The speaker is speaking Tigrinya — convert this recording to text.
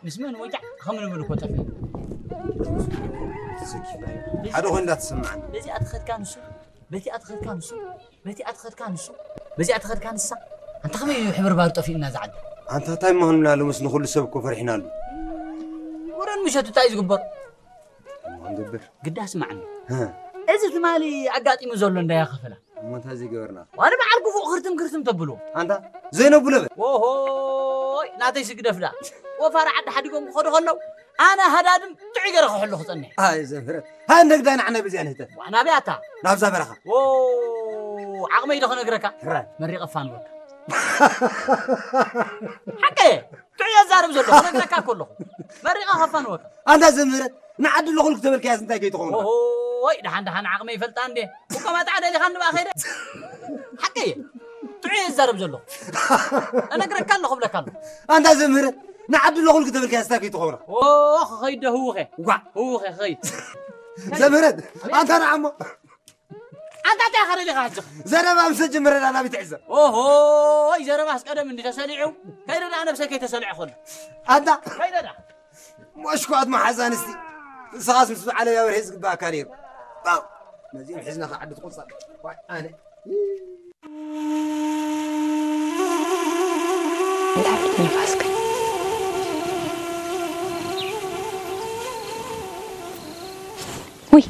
ምስ መን ወጃዕ ከም ንብል እኮ ጠፊኡ። ተዘኪፍናዮ። ሓደ ኮይኑ እንዳተሰማዓኒ። በዚኣ ትኸድካ ንሱ፣ በቲኣ ትኸድካ ንሱ፣ በቲኣ ትኸድካ ንሱ፣ በዚኣ ትኸድካ ንሳ። ኣንታ ከመይ እዩ ሕብርባሩ ጠፊኡና ዝዓዲ? ኣንታ እንታይ ምዃንና ሎምስ ንኹሉ ሰብ እኮ ፈሪሕናሉ። ወረን ምሸት እንታይ እዩ ዝግበር? እሞ ክንገብር። ግዳ ስማዕኒ። ህ። እዚ ትማሊ ኣጋጢሙ ዘሎ እንዳያ ከፈላ። እሞ እንታይ ዘይገበርና? ዋን በዓል ግፉእ ክርትም ክርትም ተብሎ። ኣንታ ዘይነብሎ በል። ኦሆይ፣ ናተይ ስግደፍ ዳ። ወፋሪ ዓዲ ሓዲጎም ክኸዱ ከለዉ፣ ኣነ ሃዳድም ጥዑይ ገይረ ክሕሉ ክጸንሕ። ኣይ ዘምህረት። ሃይ እንደግዳይ ንዓና በዚኣ ንህተ። ዋ፣ ናበይ ኣታ? ናብዛ በረኻ። ዎ፣ ዓቕመይ ዶ ክነግረካ? ሕራይ። መሪቐ ፋንወካ። ሓቀየ፣ ጥዑይ የዛርብ ዘሎ፣ ክነግረካ እኮ ኣለኹ። መሪቐ ከፋንወካ። ኣንታ ዘምህረት፣ ንዓዲ ኣለኹ ልክ ተበልካያስ እንታይ ከይትኸውን? ኦሆይ፣ ደሓን ደሓን ዓቕመይ ይፈልጣ እንዴ። እኮ ማጣዕ ደሊኻ እንባ ከይደ። ሓቀየ፣ ጥዑይ የዛርብ ዘሎ። እነግረካ ኣለኹ፣ እብለካ ኣለኹ። ኣንታ ዘምህረት፣ ንዓዲ ኣለኹ ልክ ተበልካያስ እንታይ ከይትኸውን? ኦ፣ ክኸይድ ዶ ህውኸ? ዋ። ህውኸ፣ ክኸይድ። ዘምህረት፣ ኣንታ ንዓሞ። ኣንታ እንታይ ኢኻ ደሊኻ ሕጂ? ዘረባ ምስ ጀመረ ዳ ናበይ ትዕዘብ? ኦሆይ፣ ዘረባስ ቀደም እንዲ ተሰሊዑ። ከይደ ዳ ነብሰይ ከይተሰልዐ ኮሎ። ኣንታ ከይደ ዳ። መሽኳት መሓዛ ኣንስቲ። ንስኻስ ምስ በዓለይ ኣበርሄ ዝግባኣካ ነይሩ። ባው። ነዚኦም ሒዝና ከዓዲ ትቆጻ። ዋይ፣ ኣነ። እንታይ ዓይነት ንፋስ ግን? ውይ፣